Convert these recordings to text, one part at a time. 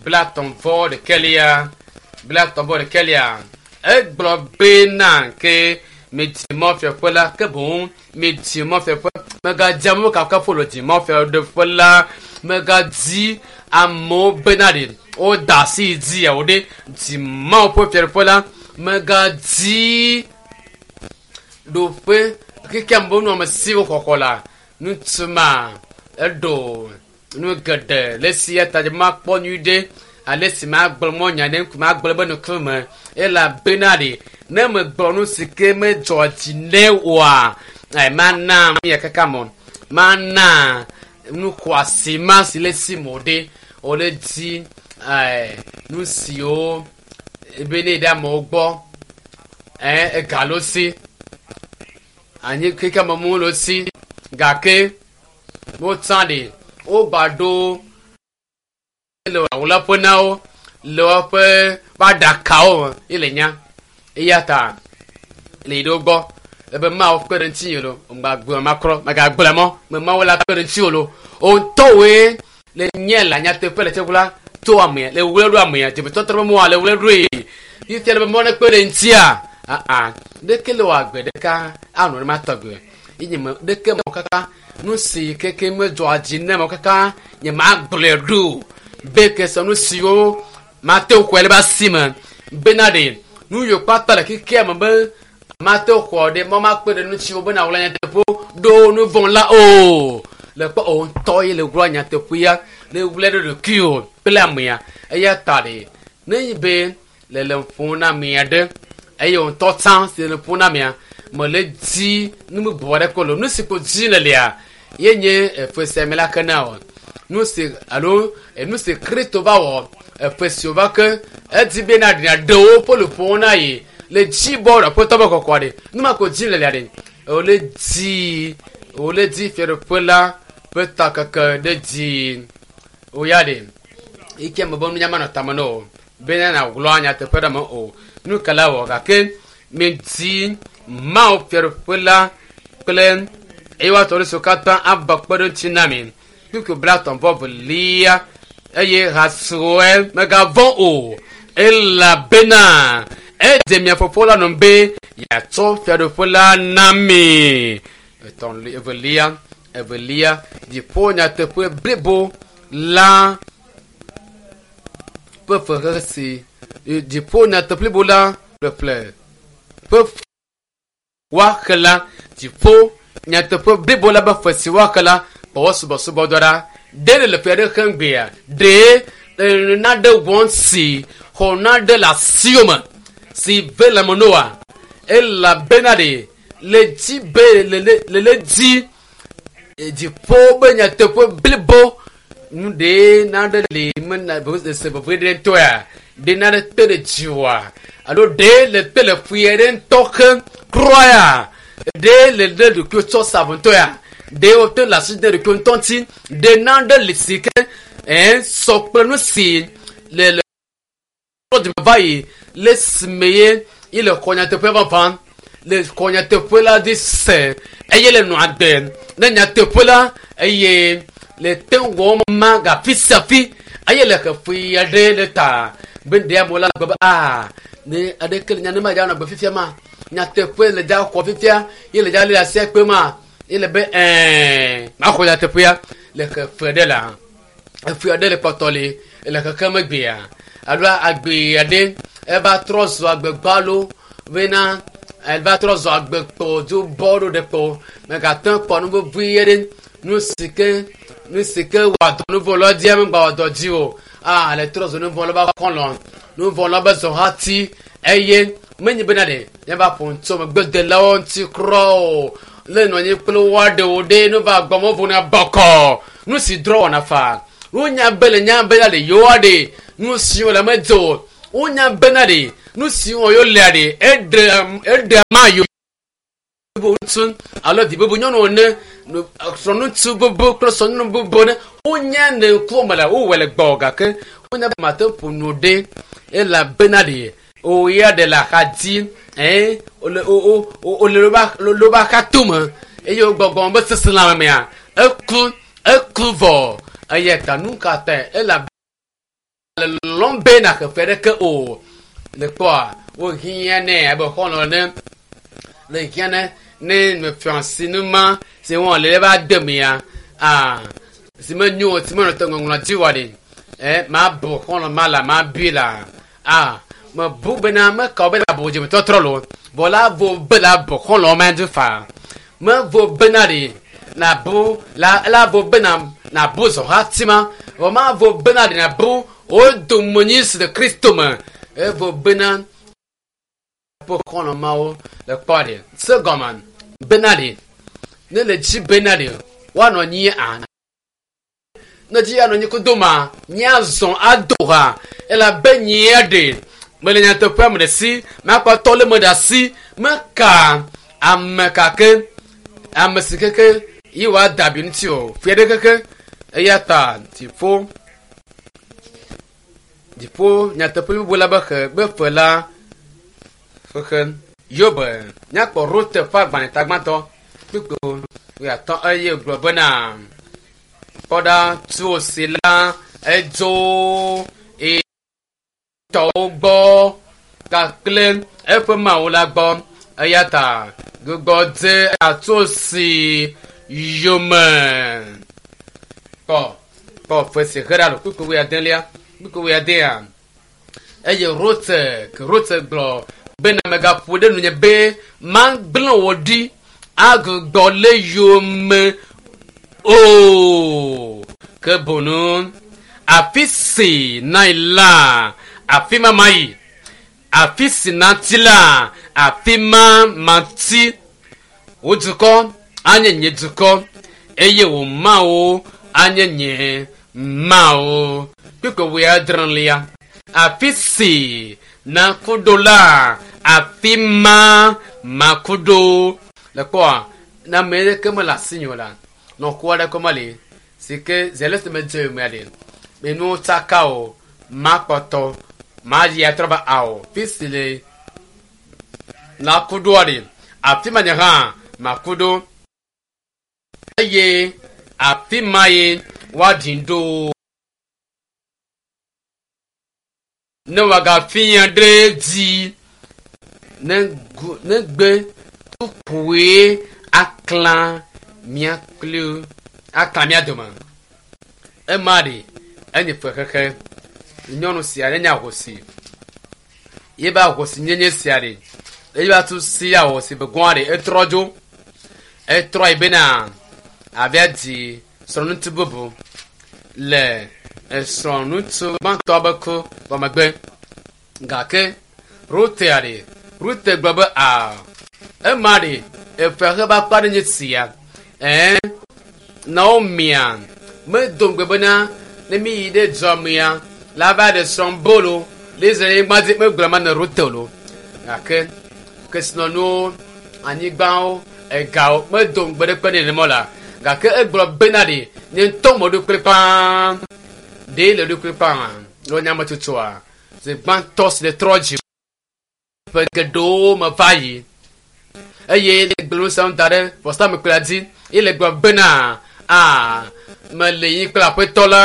30 ɖekɛlia, 31. Egblɔ bena ke midi mɔfiaƒe la, ke boŋ midi mɔfiaƒe. Megadzi amewo kafukafu le di mɔfiaɖeƒe la. Megadi amewo bena ɖe woda asi dzi yawo ɖe di Mawu ƒe fiaɖuƒe la. Megadi ɖoƒe xexea me be nunɔamesiwo xɔxɔ la. Ŋutsu ma eɖo nu geɖe le esi ya ta dzi makpɔ nyui ɖe ale si magblɔ mɔ nya ɖe ŋku magblɔ be nukume elabena ɖe ne megblɔ nu si ke medzɔ dzi ne oa, mana ya kaka mɔ mana nu xɔasi ma si le si mo ɖe wòle di nu siwo ebe ne ɖe amewo gbɔ ega lo si anyi keke me mu lo si gake wotsã ɖe wogba ɖo le awulaƒe na wo le woƒe aɖakawo ye le nya eya ta le yi ɖewo gbɔ ebe Mawu kpe ɖe ŋutinye lo ŋgbagblɔ makrɔ megagblɔ mɔ me Mawu la kpe ɖe ŋutiwò lo o ŋutɔwoe le nye la nyateƒe le tseƒe to amea le wle ɖo amea dzemetɔtrɔ be mɔa le wle ɖoe fifia le be mɔ ne kpe ɖe ŋutia aa ɖeke le wɔ agbe ɖeka anɔ ne ma tɔgbe ye nye me ɖeke mɔ kaka nu si keke medzɔa dzi ne mɔ kaka nye ma gblɔe ɖo be kese nu siwo mate ŋu xɔe le be asi me bena ɖe nu yiwo kpata le xexea me be mate ŋu xɔ ɖe mɔ makpe ɖe ŋutiwo bena wòle nyateƒe ɖo nu vɔ̃ la o le kpɔ o ŋutɔ ye le wlɔ nyateƒea le wlɛ ɖe ɖokuiwò kple amea eya ta ɖe ne nyi be le le ƒom na amea ɖe eye ŋutɔ tsã si le ƒom na amea mele di nu bubu aɖe ko lo nu si ko dzi le lia ye nye efe sia me la ke na o nu si alo nu si Kristo va wɔ efe si wòva ke edi be na ɖina ɖewo ƒe luƒowo na yi le dzi bɔ ɖe aƒetɔ be kɔkɔ ɖe nu ma ko dzi le lia ɖe wòle di fiaɖuƒe la ƒe takeke ɖe dzi woya ɖe yi ke me be nunya manɔ tame na o bena nàgblɔ nyateƒe ɖe me o nu ka la wɔ gake medi Mawu fiaɖuƒe la kple eye woatɔ ɖe siwo katã ava kpe ɖe ŋuti na mi kpukpui 32 eye hasrɔe megavɔ̃ o elabena edze mia fofo la nɔ be yeatsɔ fiaɖuƒe la na mi. Etɔ̃ evelia dziƒo nyateƒe blibo la ƒe fexe si dziƒo nyateƒe blibo la ƒeƒle ƒe woaxe la dziƒo nyateƒe blibo la be fe si woaxe la kpɔwɔ subɔsubɔdɔ ɖa ɖe le ƒe aɖe xem gbea ɖe naɖe wɔm si xɔ naɖe le asiwò me si ve le me noa elabena ɖe le dzi be le dzi dziƒo be nyateƒe blibo nu ɖe naɖe le me na se veve ɖe ŋutɔa ɖe naɖe te ɖe dziwòa alo ɖe le te le ƒui ɖe ŋutɔ ke kura ya ɖe le ɖe ɖokuiwo tsɔ sa avɔ ŋutɔ ya ɖe wote le asi ɖe ɖokuiwo ŋutɔ ŋuti ɖe naɖe le si ke sɔ kple nu si le dome va yi le sime ye ye le xɔ nyateƒe vavã le xɔ nyateƒe la dzi se eye le nɔ agbe ne nyateƒe la eye le te wɔm ma gafi sia fi eye le xeƒe aɖe le ta be ɖe amewo la gbe be aa ne aɖeke le nya ne ma dza nɔ agbe fifia ma nyateƒe le dza xɔ fifia ye le dza le asia kpe ma ye le be maxɔ nyateƒea le xeƒe ɖe la eƒe aɖe le kpɔtɔ le le xexe megbea alo agbe aɖe eva trɔ zu agbe gbalo bena eva trɔ zu agbe kpɔ dzo bɔ ɖo ɖe kpɔ megate kpɔ nu vevi aɖe nu si ke wɔ dɔ nu vɔ lɔ dzia megba wɔ dɔ dzi o a le trɔ zu nu vɔ lɔ ba xɔlɔ nu vɔ lɔ be zɔ hati eye menye bena ɖe míava ƒo ŋutsu megbedelawo ŋuti kura o le nɔ anyi kple woaɖewo ɖe nu va gbɔmɔ vo na bɔkɔ nu si drɔ wɔna fa wonya be le nya bena ɖe yewoa ɖe nu siwo le medze o wonya bena ɖe nu siwo yewo lea ɖe eɖe ma yewo ŋutsu alo vi bubu nyɔnu ene srɔ̃ŋutsu bubu kple srɔ̃nyɔnu bubu ne wonya ne ŋkuwo me la wowɔe le gbɔ gake wonya be mate ƒo nu ɖe elabena ɖe o ya ɖe le axa dzi wole loba axa tome eye wogbɔgbɔ be seselãme mea eku vɔ eya ta nu ka ta Megale lɔlɔm be nàxe fe ɖeke o. Le kpɔa, wohiã nɛ abe xɔlɔ̃ ene. Le hiã ne ne mefiɔ asi nu ma si wɔn le va de mea, aa si menyo o, si menɔ te ŋɔŋlɔ dzi wa ɖe. E mabu xɔlɔ̃ ma la, mabui la. Aa mebu bena meka wo be la bu dzimetɔtrɔ lo. Vɔ la vo be la bu xɔlɔ̃ ma dzi fa. Mevo bena ɖe nabu la la vo bena nabu zɔhati ma. Vɔ mavo bena ɖe nabu wo domenyi si le Kristo me. Evo bena ƒe xɔlɔ̃ mawo le kpɔ ɖe se gɔme bena ɖe ne le dzi bena ɖe woanɔ anyi a ne dzi anɔ anyi kudo ma míazɔ ado ha elabe nyia ɖe mele nyateƒea me ɖe si makpɔtɔ le me ɖe asi meka ame kake ame si keke yi wòada abi ŋuti o fia ɖe keke eya ta dziƒo dziƒo nyateƒe bubu la be xe be fe la fexe yobe míakpɔ rote ƒe agbalẽ tagbãtɔ kpukpu wuiatɔ̃ eye gblɔ bena kpɔ ɖa tu si la edzo eye tɔwo gbɔ kakple eƒe mawu la gbɔ eya ta gbugbɔ dze atu si yome kpɔ kpɔ fe si he ɖa lo kpukpu wuiadelia kpukpu wuiadea eye rote ke rote gblɔ bena megaƒo ɖe nunye be magblẽ wò ɖi agbugbɔ le yome o ke bonu afi si nayi la afi ma mayi afi si nati la afi ma mati wò dukɔ anye nye dukɔ eye wò mawo anye nye mawo kpukpui wuiadrelia afi si naku ɖo la afi ma maku ɖo le kpɔa ne ame ɖeke mele asinye o la nɔku aɖe ko meli si ke zi ale si medze mea ɖe menuwo tsaka o makpɔtɔ mayi atrɔ va ao fi si le naku ɖoa ɖe afi ma nye hã maku ɖo eye afi ma ye woaɖi ɖo ne wòagafia ɖe dzi ne gu ne gbe tukue aklã mía kpli aklã mía dome ema ɖe enye fexexe nyɔnu sia ne nye ahosi yebe ahosi nyenye sia ɖe eye va tu si ahosi be gɔa ɖe etrɔ dzo etrɔ yi bena avia di srɔ̃ŋutsu bubu le esrɔ̃ŋutsu gbãtɔ be ku vɔ megbe gake Rutea ɖe Rute gblɔ be a ema ɖe efe xe be akpa ɖe nye sia ɛɛ Naomia medo ŋugbe bena ne mi yi ɖe dua mea la va ɖe srɔ̃ bolo le Israel nyigba dzi megblɔ ma ne Rute lo gake kesinɔnuwo anyigbawo egawo medo ŋugbe ɖe kpe nɛ nenema o la gake egblɔ bena ɖe nye ŋutɔ meɖo kplikpaa ɖe le ɖo kplikpaa le nyametsotsoa zi gbãtɔ si le trɔ dzi ƒe geɖewo me va yi eye le gblẽ ŋusẽ da ɖe vɔsamlekpui dzi ye le gblɔ bena a mele yi kple aƒetɔ la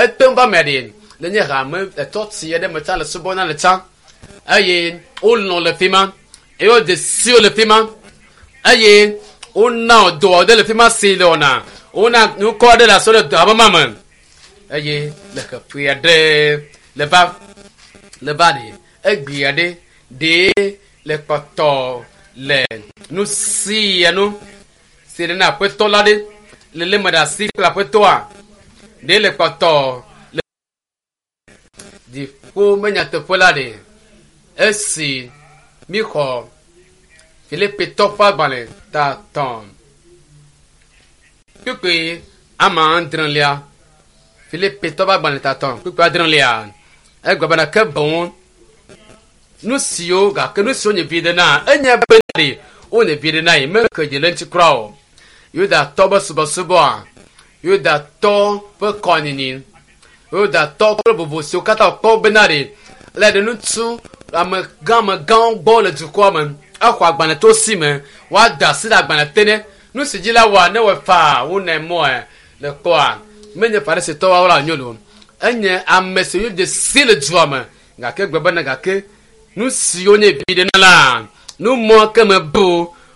ete ŋu va mea ɖe le nye hame etɔ tsi aɖe me tsã le subɔna le tsã eye wolɔ̃ le fi ma eye wode siwo le fi ma eye wona dɔ aɖe le fi ma si le wɔna wona nukɔ aɖe le asɔ ɖe hame ma me eye le xeƒe aɖe le va le va ɖe egbe aɖe ɖe le kpɔtɔ le nu sia nu si le na aƒetɔ la ɖe le lé me ɖe asi kple aƒetɔa ɖe le kpɔtɔ le dziƒo me nyateƒe la ɖe esi mixɔ Filipitɔ ƒe agbalẽ ta tɔ̃ kpukpui ama adrelia Filipitɔ ƒe agbalẽ ta tɔ̃ kpukpui adrelia egblɔ bena ke boŋ nu siwo gake nu siwo nye viɖe na enye bena ɖe wonye viɖe na yi meke dzi le ŋuti kura o Yudatɔ be subɔsubɔa Yudatɔ ƒe kɔnyinyi Yudatɔ kple vovo siwo katã wòkpɔ bena ɖe le ɖe ŋutsu amegã amegãwo gbɔ le dukɔa me exɔ agbalẽ to si me woada asi ɖe agbalẽ te ne nu si dzi la wɔa ne wɔ faa wonɛ mɔe le kpɔa menye farisitɔwo la nyo lo. Enye ame si wodze si le dua me gake gblɔ bena gake nu siwo nye vi ɖe na la nu mɔ ke me bu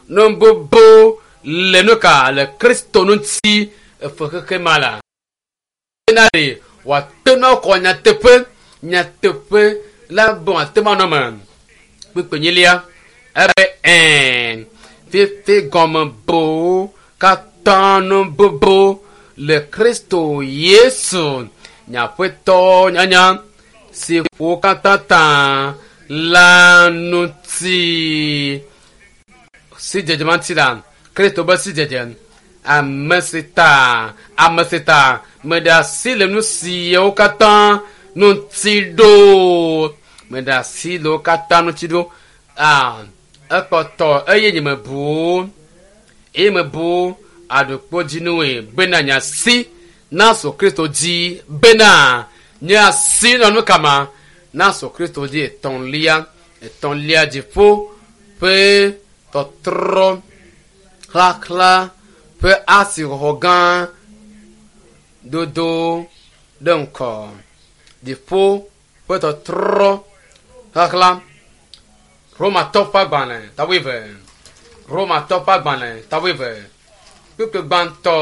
nu bubu le nu ka le Kristo ŋuti efe xexe ma la. Bena ɖe wòate ŋu akɔ nyateƒe nyateƒe la be wòate ŋu anɔ eme. Kpukpui enyilia ebe ɛ̃ fifi gɔme bowo katã nu bubu le Kristo Yesu nye Aƒetɔ nyanya si ƒo wo katã ta la ŋuti. Sidzedze ma ŋuti la, Kristo be sidzedze, ame si ta, ame si ta meɖe asi le nu siawo katã ŋuti ɖo. Meɖe asi le wo katã ŋuti ɖo. Ah, ekpɔtɔ eye nye mebu wo, eye mebu aɖukpodzinue bena nye asi nasu Kristo dzi bena nye asi nɔ nu kama nasu Kristo dzi etɔ̃lia etɔ̃lia dziƒo ƒe tɔtrɔ xlaxla ƒe asixɔxɔ gã dodo ɖe ŋkɔ. Dziƒo ƒe tɔtrɔ xlaxla. Romatɔ ƒe agbalẽ ta wuieve. Romatɔ ƒe agbalẽ ta wuieve. Kpukpui gbãtɔ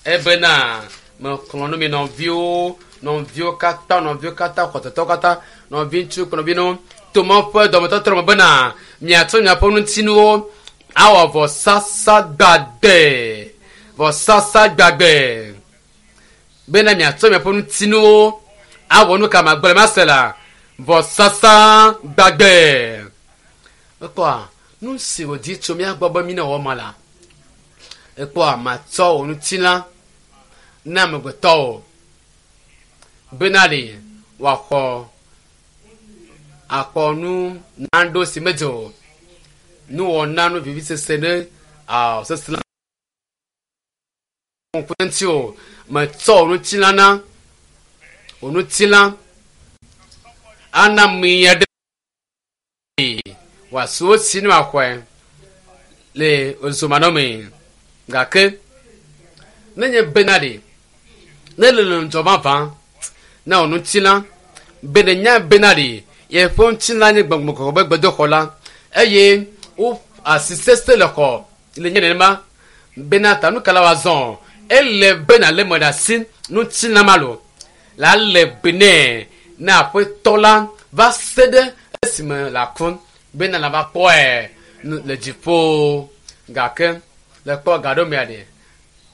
ebena mexlɔ̃ nu mi nɔviwo, nɔviwo katã, nɔviwo katã, xɔsetɔwo katã, nɔviŋutsu kple nɔvinyɔnuwo to Mawu ƒe dɔmetɔtrɔ me bena miatsɔ miaƒe ŋutinuwo awɔ vɔsasa gbagbe, vɔsasa gbagbe bena miatsɔ miaƒe ŋutinuwo awɔ nu ka magblɔ mase la vɔsasa gbagbe. Ekpɔa nu si wòdi tso mía gbɔ be mí newɔ ma la, ekpɔa matsɔ wò ŋutilã na amegbetɔwo bena ɖe wòaxɔ akpɔ nu naɖo si medze o. Nuwɔna nu vivisese ɖe sese ŋku ŋuti o. Metsɔ wò ŋutilã na wò ŋutilã ana mi aɖe wòasu wo si ne wòaxɔe le ezomanɔmee. Gake nenye bena ɖe ne le ŋudzɔ vavã na wò ŋutilã be nènya bena ɖe yeƒe ŋutilã nye gbɔgbɔ kɔkɔe ƒe gbedoxɔ la eye wo asi sese le xɔ le nye nenema bena ta nu ka la wòazɔ ele be nàlé me ɖe asi ŋutilã ma lo la le be nɛ na aƒetɔ la va se ɖe esime le aku bena la va kpɔe le dziƒo gake le kpɔ ga ɖo mea ɖe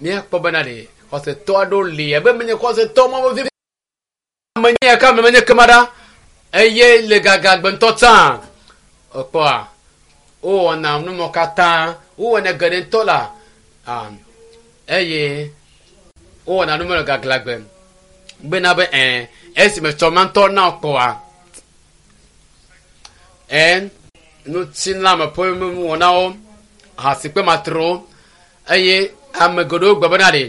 míakpɔ bena ɖe xɔsetɔ aɖewo li abe menye xɔsetɔ ma vevi ame nye ka ame menye kema ɖa eye le gagagbe ŋutɔ tsã ekpɔa wowɔna numɔ katã wowɔna geɖe ŋutɔ la eye wowɔna numɔ le gaglagbe bena be ɛ esime tsɔ ma ŋutɔ na kpɔa ɛ ŋutilãme ƒe nuwɔnawo hasikpe matrowo eye ame geɖewo gblɔ bena ɖe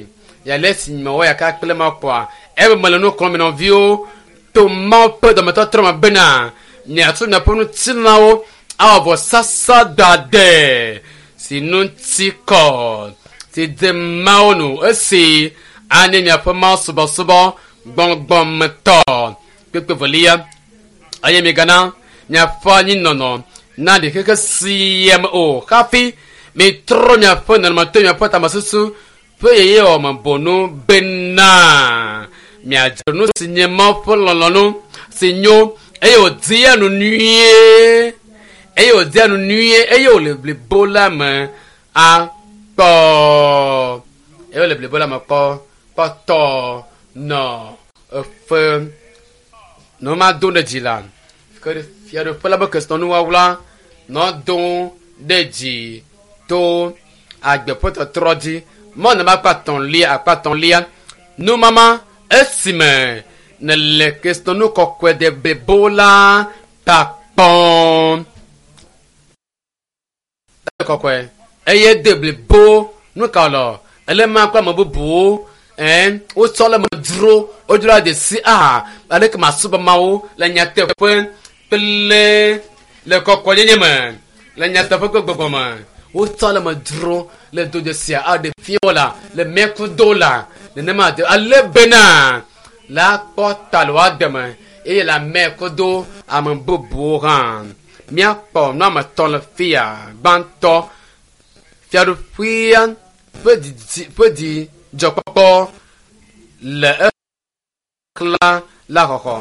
yale si mewɔ yaka kple ma kpɔa ebe mele nu xlɔ̃m nɔviwo to Mawu ƒe dɔmetɔtrɔ me bena miatsɔ miaƒe ŋutilãwo awɔ vɔsasa gbagbe si ŋuti kɔ si de Mawu nu esi anye miaƒe Mawu subɔsubɔ gbɔgbɔmetɔ. Kpekpe velia eye migana miaƒe anyinɔnɔ na ɖi xexe sia me o hafi mitrɔ miaƒe nɔnɔme to miaƒe tamesusu ƒe yeyewɔ me bonu bena miadzro nu si nye Mawu ƒe lɔlɔ̃nu si nyo eye wòdia nu nyuie eye wòdia nu nyuie eye wòle blibo la me akpɔ eye wòle blibo la me kpɔ kpɔtɔ nɔ eƒe nɔma do ɖe dzi la ke fiaɖuƒe la be kesinɔnuwɔwla nɔ do ɖe dzi to agbe ƒe tɔtrɔ dzi mɔ nama akpa etɔ̃lia akpa etɔ̃lia numama esime nèle kesinɔnu kɔkɔe de blibo la ta kpɔm kɔkɔe eye de blibo nu ka lɔ ele ma kple ame bubuwo ɛn wotsɔ le me dzro wodzro de si aha aleke masubɔ Mawu le nyateƒe kple le kɔkɔenyenye me le nyateƒe kple gbɔgbɔ me wotsɔ le me dzro le do dzesia aɖe fia la le mɛkudo la nenema de ale bena La kpɔ ta le woa deme eye le ame kodo ame bubuwo hã. Míakpɔ nu ame etɔ̃ le fia. Gbãtɔ, fiaɖuƒea ƒe didi ƒe dzidzɔkpɔkpɔ le exlã la xɔxɔ.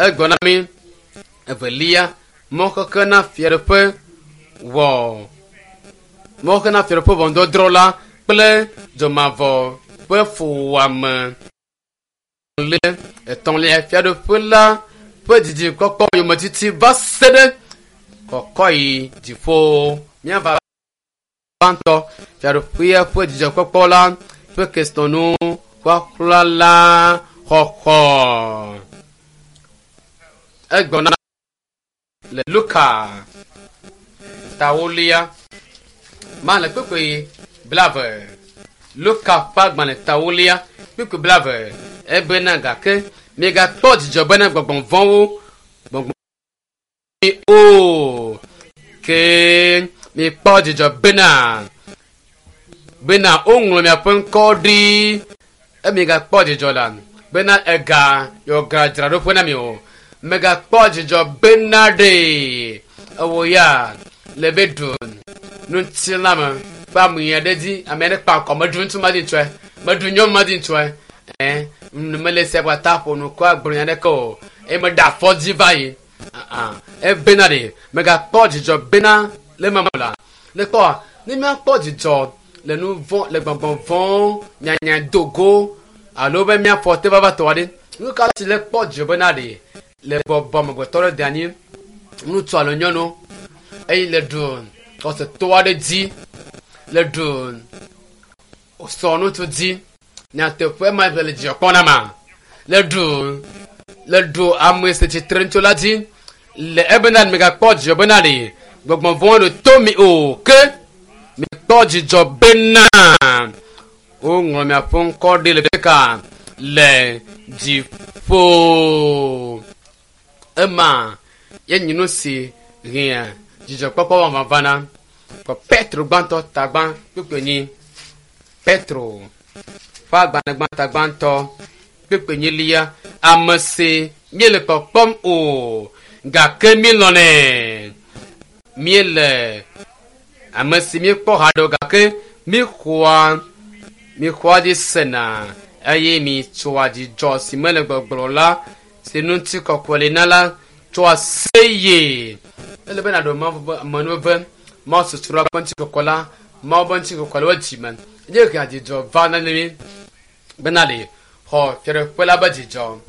Egblɔ na mí evelia, mɔxexe na fiaɖuƒe wɔ mɔxexe na fiaɖuƒe ʋɔnudɔdrɔ̃ la kple dzomavɔ ƒe fuwɔame. Etɔ̃lia, fiaɖuƒe la ƒe dzidzikpɔkpɔ yometiti va se ɖe kɔkɔ yi dziƒo. Míava gbãtɔ fiaɖuƒea ƒe dzidzɔkpɔkpɔ la ƒe kesinɔnu ƒaƒla la xɔxɔ. Egblɔ na le Luka tawolia ma le kpukpui 20. Luka ƒe agbalẽ tawolia kpukpui 20 ebena gake miegakpɔ dzidzɔ bena gbɔgbɔ vɔ̃wo gbɔgbɔ o ke mikpɔ dzidzɔ bena woŋlɔ miaƒe ŋkɔ ɖi emigakpɔ dzidzɔ la bena ega yɔ gadzraɖoƒe na mi o. Megakpɔ dzidzɔ bena ɖe ewɔ ya le be ɖu ŋutilãme ƒe ame aɖe dzi ame aɖe kpa akɔ meɖu ŋutsu ma dzi ŋutsɔe meɖu nyɔnu ma dzi ŋutsɔe ɛ mele sia kpata ƒo nu kɔ agblɔ nya ɖeke o eye meɖe afɔ dzi va yi ebena ɖe megakpɔ dzidzɔ bena le mama la le kpɔa ne míakpɔ dzidzɔ le nu vɔ̃ le gbɔgbɔ vɔ̃ nyanya dogo alo be míafɔ te vava tɔ aɖe nu ka si le kpɔ dzidzɔ bena ɖe le bɔbɔ amegbetɔ ɖe de anyi ŋutsu alo nyɔnu eye le ɖu xɔsetɔ aɖe dzi le ɖu sɔ ŋutsu dzi nyateƒe ma le dzidzɔ kpɔm na ma le ɖu ame si tsitre ŋutsu la dzi le ebena megakpɔ dzidzɔ bena ɖe gbɔgbɔ vɔ̃ ɖe to mi o ke mikpɔ dzidzɔ bena woŋlɔ miaƒe ŋkɔ ɖi le ɖeka le dziƒo. Ema ye nye nu si hea dzidzɔkpɔkpɔ vavã vana. Kpɔ Petro gbãtɔ tagbã kpukpui enyi. Petro ƒe agbalẽ gbã tagbãtɔ kpukpui enyilia. Ame si míele kpɔkpɔm o gake míelɔ̃nɛ. Míele ame si míekpɔ haɖe o gake míxɔa dzi sena eye mitsoa dzidzɔ si mele gbɔgblɔ la si ŋuti kɔkɔe li na la tsoa seye. Ele be nàɖo amenuveve Mawu susua ƒe ŋuti kɔkɔe la Mawu ƒe ŋuti kɔkɔe le wo dzime ye hea dzidzɔ va na mí bena le xɔ fiaɖuƒe la be dzidzɔ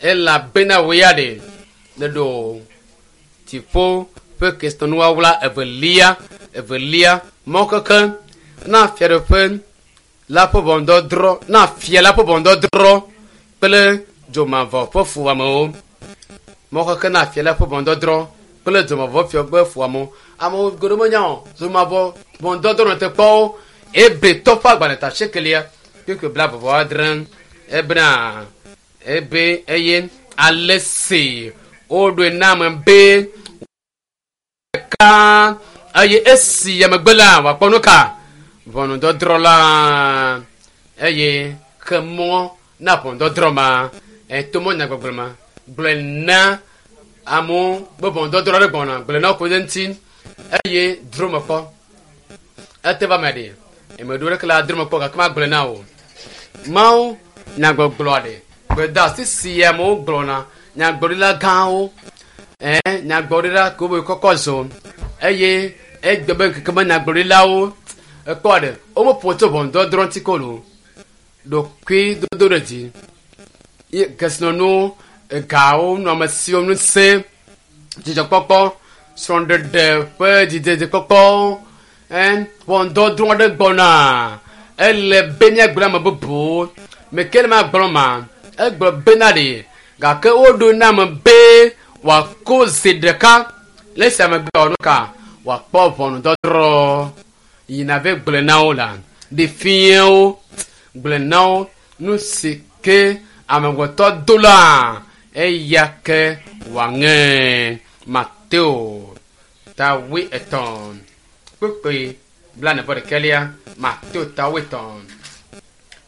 elabena wò ya ɖe le ɖo dziƒo ƒe kesinɔnuwɔwla evelia mɔkeke na fiaɖuƒe la ƒe ʋɔnudɔdrɔ̃ na fia la ƒe ʋɔnudɔdrɔ̃ kple dzomavɔ ƒe fuwɔamewo. Mɔkeke na fia la ƒe ʋɔnudɔdrɔ̃ kple dzomavɔ ƒe fuwɔamewo. Amewo goɖo menya o dzomavɔ ʋɔnudɔdrɔ̃ nɔ te kpɔwo ebetɔ ƒe agbalẽ ta sekelia kpekpe 26 ebena ebe eye ale si woɖoe na ame be ɖeka eye esi emegbe la wòakpɔ nu ka ʋɔnudɔdrɔ̃ la eye xe mɔ na ʋɔnudɔdrɔ̃ ma eto mɔ nyagbɔgblɔ ma gblɔe na amewo be ʋɔnudɔdrɔ̃ ɖe gbɔna gblɔe na wo ko ɖe ŋuti eye dro me kpɔ ete va me ɖe eme ɖo ɖeke la dro me kpɔ gake magblɔe na wo Mawu nyagbɔgblɔ ɖe gbedeasi si amewo gblɔna nyagblɔɖila gãwo nyagblɔɖila ke wobe kɔkɔ zɔ eye egbe be ŋkeke me nyagblɔɖilawo ekpɔ ɖe womeƒo tso ʋɔnudɔdrɔ̃ ŋuti ko lo ɖokui dodo ɖe dzi kesinɔnuwo egawo nɔamesiwo ŋusẽ dzidzɔkpɔkpɔ srɔ̃ɖeɖe ƒe dzidzedzekpɔkpɔ ʋɔnudɔdrɔ̃ aɖe gbɔna ele be míagblɔ ame bubuwo meke le magblɔ ma egblɔ bena ɖe gake woɖo na ame be wòako zi ɖeka le esi ame gbe nu ka wòakpɔ ʋɔnudɔdrɔ̃ yina ve gblɔe na wo la ɖe fiawo gblɔe na wo nu si ke amegbetɔ do la eya ke wòaŋe. Mateo ta 23 kpukpui 41 Mateo ta 23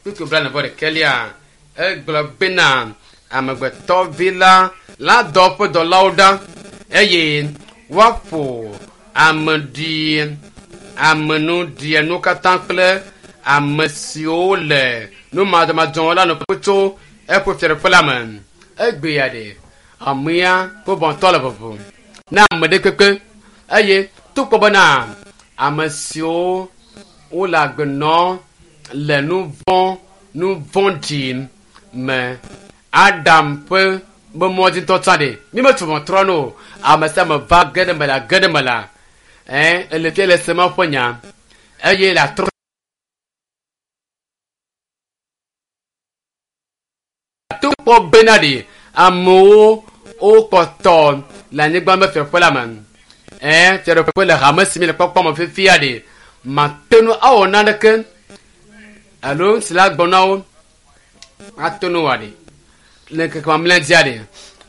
kpukpui 41. Egblɔ bena amegbetɔvi la la dɔ eƒe dɔlawo ɖa eye woaƒo ame ɖi amenuɖienu katã kple ame siwo le numadɔmadzɔwo la nu ƒu tso eƒe fiaɖuƒe la me. Egbea ɖe amea ƒe bɔntɔ le vovo na ame ɖe kpekpe eye togbɔ bena ame siwo wole agbe nɔm le nu vɔ̃ nu vɔ̃ɖi me Adam ƒe be mɔ dzi ŋutɔ tsã ɖe mi metu ʋɔtrɔ no o. Ame sia ame va ge ɖe me la ge ɖe me la ɛ ele fia le se ma ƒe nya eye le atrɔ to kpɔ bena ɖe amewo wokpɔtɔ le anyigba me fiaƒe la me ɛ fiaɖuƒe le hame si mi le kpɔkpɔ me fifia ɖe mate ŋu awɔ naneke alo si la gbɔ na wo ate ŋu wɔ ɖe le ŋkeke mamlɛ dzia ɖe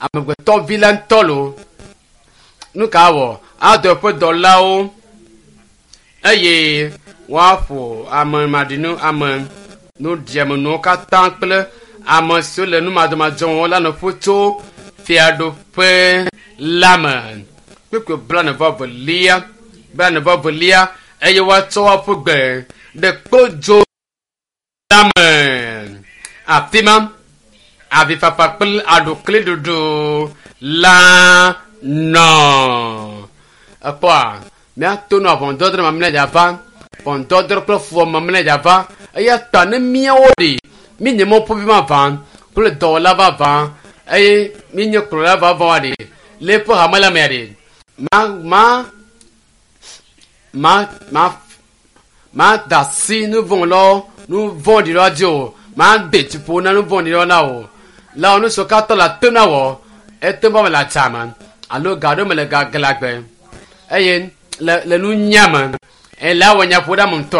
amegbetɔvi la ŋutɔ lo nu ka wɔ adɔ eƒe dɔlawo eye woaƒo ame maɖinu ame nuɖiamenuwo katã kple ame siwo le numadɔmadzɔwo la nu ƒu tso fiaɖuƒe la me. Kpukpui 31 31 eye woatsɔ woaƒu gbe ɖe kpodzo la me. Afi ma avifafa kple aɖukliɖuɖu la nɔ. Ekpɔa míato nɔ ʋɔnudɔdrɔ̃ mamlɛ dzava ʋɔnudɔdrɔ̃ kple fuwɔame mamlɛ dzava eya ta ne míawo ɖi míenye mɔƒovi vavã kple dɔwɔla vavã eye míenye kplɔla vavã ɖi le eƒe hame la mea ɖi ma ma ma ma ma da asi nu vɔ̃ lɔ nu vɔ̃ɖi lɔ dzi o ma de dziƒo na nu vɔ̃ɖi lɔ na o la nu siwo katã le ate na wɔ ete va me le adzame alo ga ɖewo me le gaglãgbe eye le le nunya me eye le awɔ nyaƒoɖeame ŋutɔ.